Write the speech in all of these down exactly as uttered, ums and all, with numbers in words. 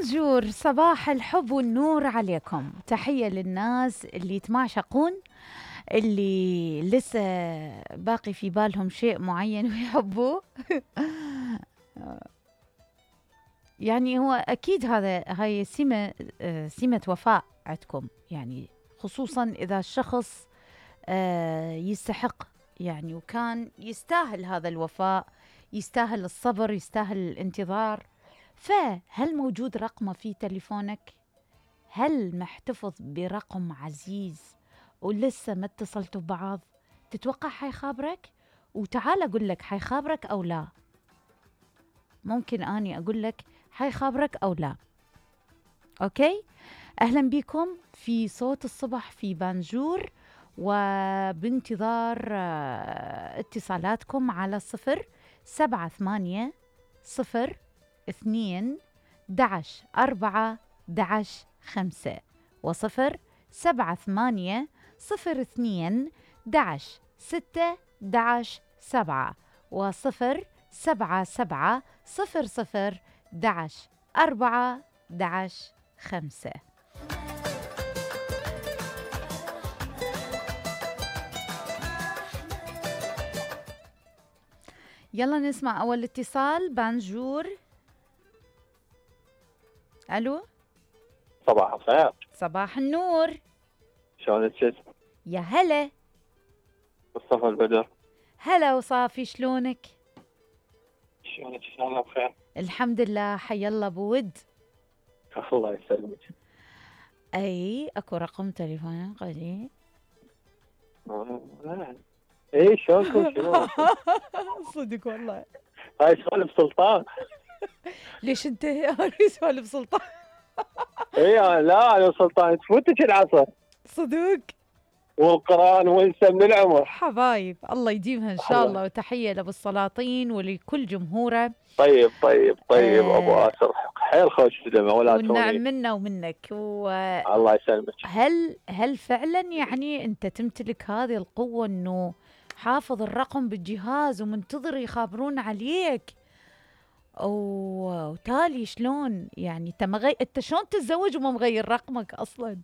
بونجور، صباح الحب والنور عليكم. تحية للناس اللي يتمعشقون، اللي لسه باقي في بالهم شيء معين ويحبوه. يعني هو أكيد هذا هاي سمة سمة وفاء عندكم، يعني خصوصا إذا الشخص يستحق يعني وكان يستاهل هذا الوفاء، يستاهل الصبر، يستاهل الانتظار. فهل موجود رقمه في تليفونك؟ هل محتفظ برقم عزيز ولسه ما اتصلتوا ببعض؟ تتوقع حيخابرك؟ وتعال أقول لك حيخابرك أو لا. ممكن أني أقول لك حيخابرك أو لا. أوكي؟ أهلا بكم في صوت الصبح في بانجور، وبانتظار اتصالاتكم على صفر سبعة ثمانية صفر اثنين دعش أربعة دعش خمسة وصفر سبعة ثمانية صفر اثنين دعش ستة دعش سبعة وصفر سبعة سبعة صفر صفر دعش أربعة دعش خمسة. يلا نسمع أول اتصال. بانجور. ألو. صباح الخير. صباح النور. شلونك؟ يا هلا. مصطفى البدر. هلا وصافي، شلونك؟ شلونك؟ ان شاء الله بخير. الحمد لله. حي الله بود. الله يسلمك. اي اكو رقم تليفون قليل. اي شلونكم؟ شنو؟ صدق والله. هاي سوالف سلطان. ليش انت هاي سوالف سلطان؟ اي لا انا سلطان تفوتك العصر. صدق. والقرآن وانسى من العمر. حبايب الله يديمها ان شاء الله. وتحية لابو السلاطين ولكل جمهوره. طيب طيب طيب آه ابو اسر حيل خوش دمه ولا توني. والنعم منا ومنك و... الله يسلمك. هل هل فعلا يعني انت تمتلك هذه القوة انه حافظ الرقم بالجهاز ومنتظر يخابرون عليك؟ وتالي شلون يعني انت مغي... انت شلون تتزوج وما مغير رقمك اصلا؟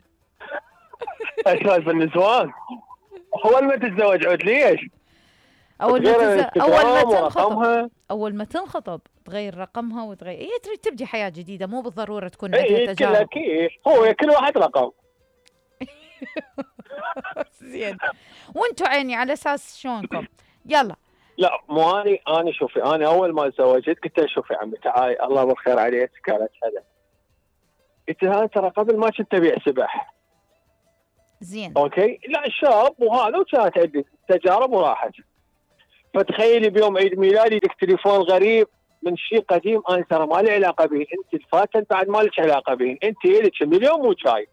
اشوف النسوان اول ما تتزوج عود ليش؟ اول ما تز... اول ما تنخطب اول ما تنخطب تغير رقمها وتغير هي تريد تبدي حياة جديدة، مو بالضرورة تكون عندها تجارب. اي كل هو كل واحد رقم. زين. وانتوا عيني على اساس شلونكم؟ يلا. لا مو اني انا شوفي انا اول ما تزوجت قلت لها شوفي عمي تعالي الله بالخير عليك. قالت هلا. قلت لها ترى قبل ما كنت ابيع سبح. زين. اوكي لا شاب وهذا وكانت عندي تجارب وراحت. فتخيلي بيوم عيد ميلادي لك تليفون غريب من شيء قديم انا ترى ما لي علاقه به، انت الفاتن بعد ما لك علاقه به، انت لك مليون مو شاي.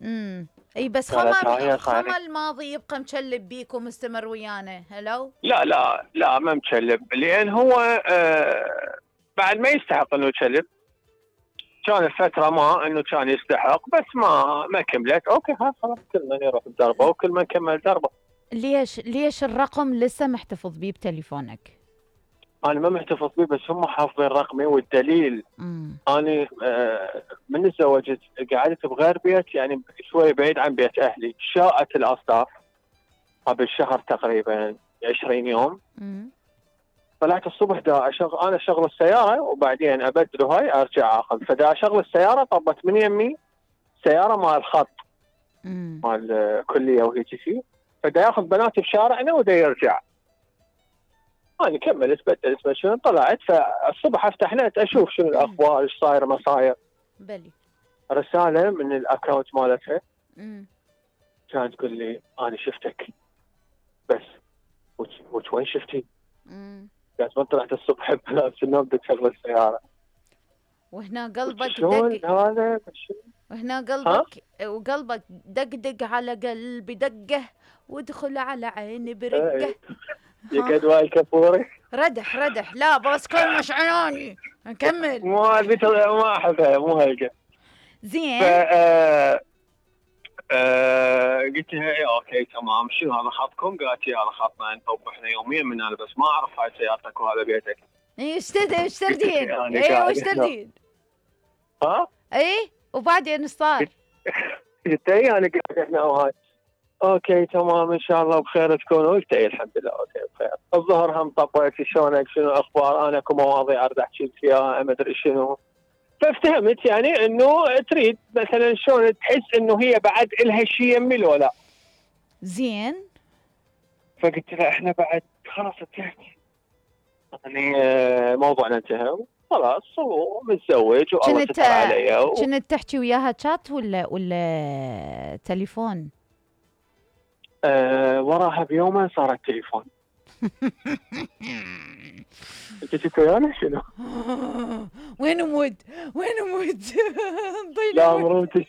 امم اي بس خمر خمر الماضي يبقى مشلب بيك ومستمر ويانا. هلو. لا لا لا ما مشلب لان هو آه بعد ما يستحق انه يشلب. كان فتره ما انه كان يستحق بس ما ما كملت. اوكي خلاص كل من يروح بدربه وكل من كمل دربه. ليش ليش الرقم لسه محتفظ بيه بتليفونك؟ انا ما محتفظ بيه بس هم حافظين رقمي والدليل مم. انا آه من تزوجت قعدت بغير بيت يعني شوي بعيد عن بيت اهلي. شاءت الاصداف قبل شهر تقريبا عشرين يوم. مم. طلعت الصبح دا أشغل انا اشغل السياره وبعدين ابدله هاي ارجع اخذ. فدا اشغل السياره طبت من يمي سياره مال الخط مال الكليه وهي شيء. فدا ياخذ بناتي بشارعنا ودا يرجع. انا كملت بدلت مشون طلعت. فالصبح افتح نت اشوف شنو الاخبار ايش صاير ما صاير. بلي رساله من الاكونت مالتها امم كانت تقول لي انا شفتك بس وش وين شفتي؟ امم قالت ما طلعت الصبح بنفس النوم بدك تشغل السياره. وهنا قلبك دق هذا وهنا قلبك وقلبك دقدق على قلبي دقه وادخل على عيني برقه. يا قدوة الكفوري ردح ردح. لا بس كل مش عناني نكمل. مو هذه ما احبها مو هلقه. زين. ف آه آه قلت لها ايه اوكي تمام شنو هذا خطكم؟ قالت لي هذا خطنا انت احنا يوميا من هذا بس ما اعرف هاي سيارتك وهذا بيتك. ايش تدين ايش تردين؟ ايه وش تردين؟ ها ايه وبعدين ايش صار؟ قلت اي انا قاعد هنا وهاي اوكي تمام ان شاء الله بخير تكونوا. قلت اي الحمد لله اوكي بخير. الظهر هم طبيت شلونك شنو اخبار انا اكو مواضيع اريد احكي لك فيها ما ادري شنو. فافتهمت يعني انه تريد مثلا شلون تحس انه هي بعد الها شيء يمي لو لا. زين. فقلت لها احنا بعد خلاص انتهت يعني موضوعنا انتهى خلاص ومتزوج والله ستر علي. و... كنت تحكي وياها شات ولا ولا تليفون؟ أه وراها بيومين صارت تليفون. انت كنت ويانا شنو؟ وين مود؟ وين مود؟ لا مرمتك.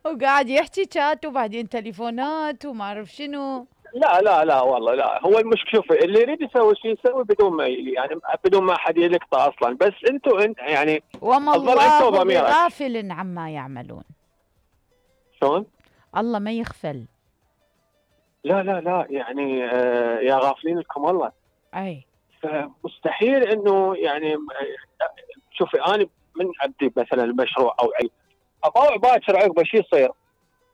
وقاعد يحكي شات وبعدين تليفونات وما اعرف شنو. لا لا لا والله لا. هو المشكله شوفي اللي يريد يسوي شيء يسوي بدون ما يعني بدون ما حد يلقطه اصلا. بس انتم انت يعني وما الله بغافل عما يعملون. شلون؟ الله ما يغفل. لا لا لا يعني آه يا غافلين لكم الله. اي فمستحيل انه يعني شوفي انا من ابدي مثلا المشروع او علم اطاوع باكر عقبه شو يصير.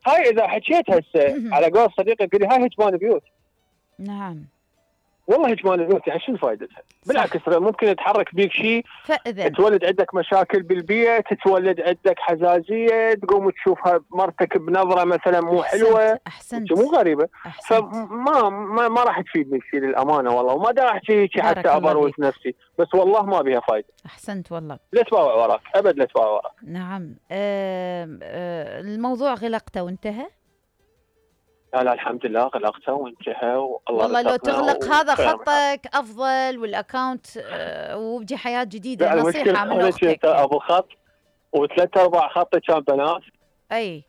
هاي اذا حكيت هسه على قول صديقي يقول لي هاي هجمان بيوت. نعم والله هجمان البيوت يعني شنو فائدتها؟ بالعكس ممكن يتحرك بيك شيء فإذا تولد عندك مشاكل بالبيت، تولد عندك حزازيه، تقوم تشوفها مرتك بنظره مثلا مو حلوه. احسنت مو غريبه. أحسنت. فما ما, ما راح تفيدني شيء للامانه والله. وما دا احكي هيك حتى ابروز نفسي بس والله ما بها فايده. احسنت والله. لا تباوع وراك ابد لا تباوع وراك. نعم. أه أه الموضوع غلقته وانتهى. لا لا الحمد لله غلقته وانتهى والله. والله لو تغلق هذا خطك افضل والاكونت أه وبدي حياه جديده. نصيحه من اختك. ابو خط وثلاث ارباع خطي كان بنات. اي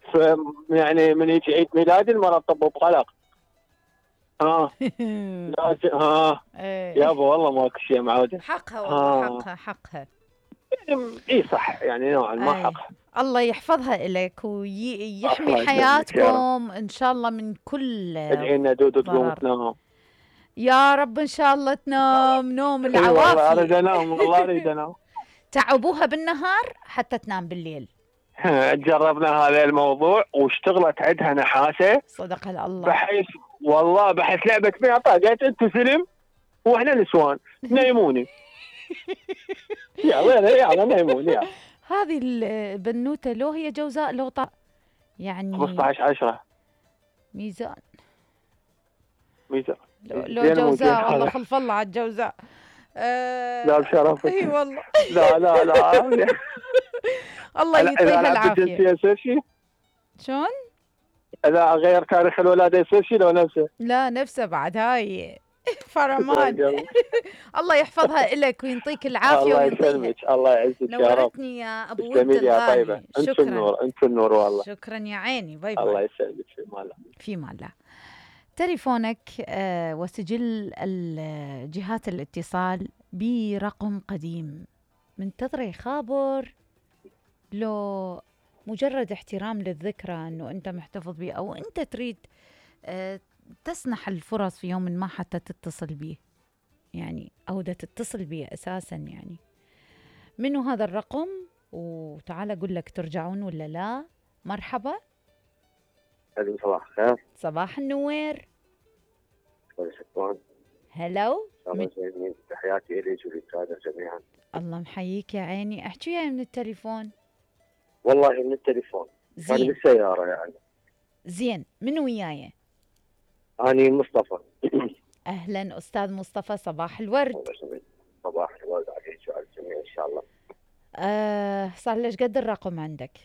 يعني من يجي عيد ميلادي المرة تطب بقلق. ها لازم ها يا ابو والله ماكو شيء معوده. حقها والله حقها حقها. اي صح يعني نوعا ما حقها. الله يحفظها لك ويحمي حياتكم ان شاء الله من كل. ادعي لنا دودو تقوم تنام. يا رب ان شاء الله تنام نوم العوافي. والله اريد انام والله اريد انام. تعبوها بالنهار حتى تنام بالليل. جربنا هذا الموضوع واشتغلت عندها نحاسه صدق الله. بحيث والله بحيث لعبه بيها قالت انتوا سلم واحنا نسوان نيموني. يلا يلا نيموني. هذه البنوته لو هي جوزاء لو طا يعني خمسة عشر عشرة ميزان. ميزان لو, لو جوزاء والله خلف الله على الجوزاء. أه لا بشرفك. اي والله. لا لا لا الله يعطيها العافيه. يصير شيء؟ شلون؟ اذا غير تاريخ الولاده يصير شيء لو نفسه؟ لا نفسه بعد هاي فرمان. الله يحفظها لك ويعطيك العافيه الله يسلمك. الله يعزك يا رب. نورتني يا ابو ود يا طيبه. انت النور انت النور والله. شكرا يا عيني. باي باي. الله يسلمك في مال في مال. تليفونك آه وسجل جهات الاتصال برقم قديم منتظر خابر لو مجرد احترام للذكرى انه انت محتفظ به او انت تريد آه تسنح الفرص في يوم ما حتى تتصل به يعني او دا تتصل به اساسا يعني. منو هذا الرقم وتعال اقول لك ترجعون ولا لا. مرحبا. صباح الخير. صباح النوير. شكرا. هلو. من... تحياتي اليك وللساده جميعا. الله محييك يا عيني. احكي وياي من التليفون. والله من التليفون. زين. انا بالسياره يعني. زين من وياي؟ اني مصطفى. اهلا استاذ مصطفى. صباح الورد. صباح الورد عليك وعلى الجميع ان شاء الله. آه صار ليش قد الرقم عندك؟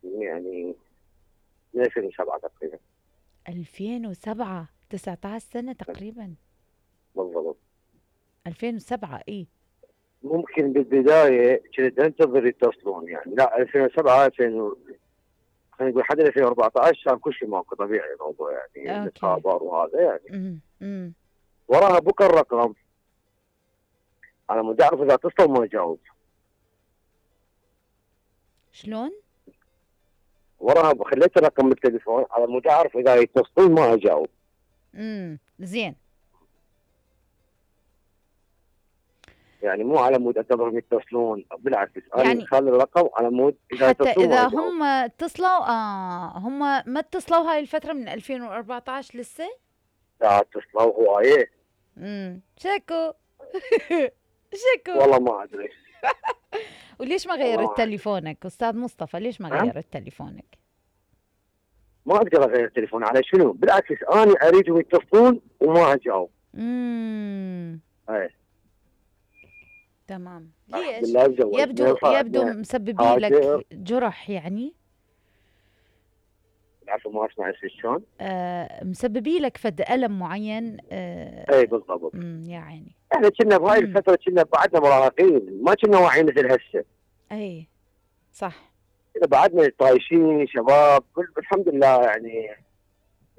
يعني من ألفين وسبعة تقريبا. ألفين وسبعة تسعة عشر سنة تقريبا. بالضبط. ألفين وسبعة اي. ممكن بالبداية كنت انتظر يتصلون يعني لا ألفين وسبعة ألفين خلينا نقول حتى ألفين وأربعة عشر كان كل شيء ماكو طبيعي الموضوع يعني الخبر وهذا يعني. امم وراها بكى الرقم على مود اعرف اذا اتصل ما اجاوب. شلون؟ وراها خليت الرقم بالتليفون على مود اعرف اذا يتصلون ما اجاوب. امم زين. يعني مو على مود اعتبرهم يتصلون، بالعكس يعني انا خلي الرقم على مود اذا حتى يتصلون اذا وأجاوب. هم اتصلوا اه هم ما اتصلوا هاي الفتره من ألفين وأربعطعش لسه؟ لا اتصلوا هوايه. امم شكو شكو والله ما ادري. وليش ما غيرت تليفونك استاذ مصطفى؟ ليش ما غيرت تليفونك؟ ما اقدر اغير التليفون على شنو؟ بالعكس انا اريدهم يتصلون وما اجاوب. امم اي تمام. ليش؟ يبدو يبدو مسببي لك جرح يعني؟ العفو ما اسمع شلون؟ آه مسببي لك فد ألم معين. آه اي بالضبط. امم يا عيني. احنا كنا بهاي الفتره كنا بعدنا مراهقين، ما كنا واعيين مثل هسه. اي صح. كنا بعدنا طايشين شباب، الحمد لله يعني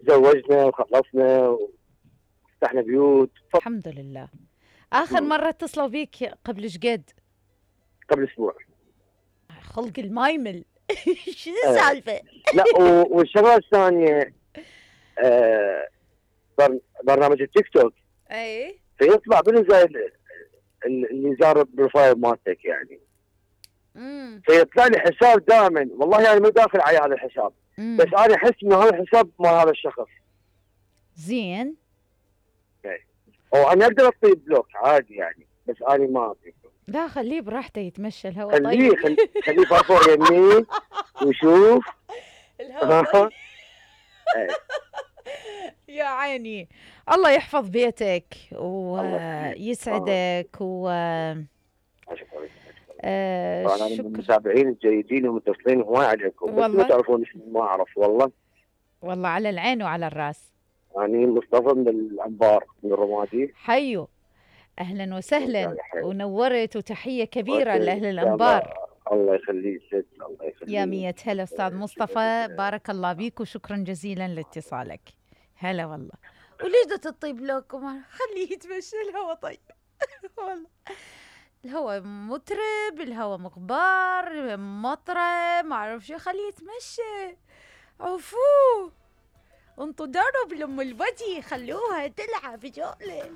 تزوجنا وخلصنا وفتحنا بيوت. الحمد لله. اخر مم. مره اتصلوا بيك قبل ايش قد؟ قبل اسبوع. خلق المايمل. شو السالفه؟ لا والشغله الثانيه آه برنامج التيك توك. اي فيطلع منه زي اللي زار البروفايل مالتك يعني. امم فيطلع لي حساب دائما، والله يعني مو داخل على هذا الحساب. مم. بس انا احس انه هذا الحساب مال هذا الشخص. زين. اي او انا اقدر اعطيه بلوك عادي يعني، بس انا ما اعطيه. لا خليه براحته يتمشى الهواء. خليه طيب. خليه فرفور يمين وشوف الهواء طيب. يا عيني الله يحفظ بيتك ويسعدك و آه انا من المتابعين الجيدين والمتصلين هواي عليكم، بس ما تعرفون ما اعرف والله. والله على العين وعلى الراس. يعني مصطفى من الانبار من الرمادي. حيو اهلا وسهلا ونورت، وتحيه كبيره لاهل الانبار. الله يخليك ست، الله يخليك يا مية هلا استاذ مصطفى، بارك الله بيك وشكرا جزيلا لاتصالك. هلا والله. وليش بدها تطيب لكم؟ خليه يتمشى الهوا طيب. والله الهوا مترب، الهوا مغبار مطره ما اعرف شو، خليه يتمشى. عفوه انطوا درب لام البدي، خلوها تلعب جولة.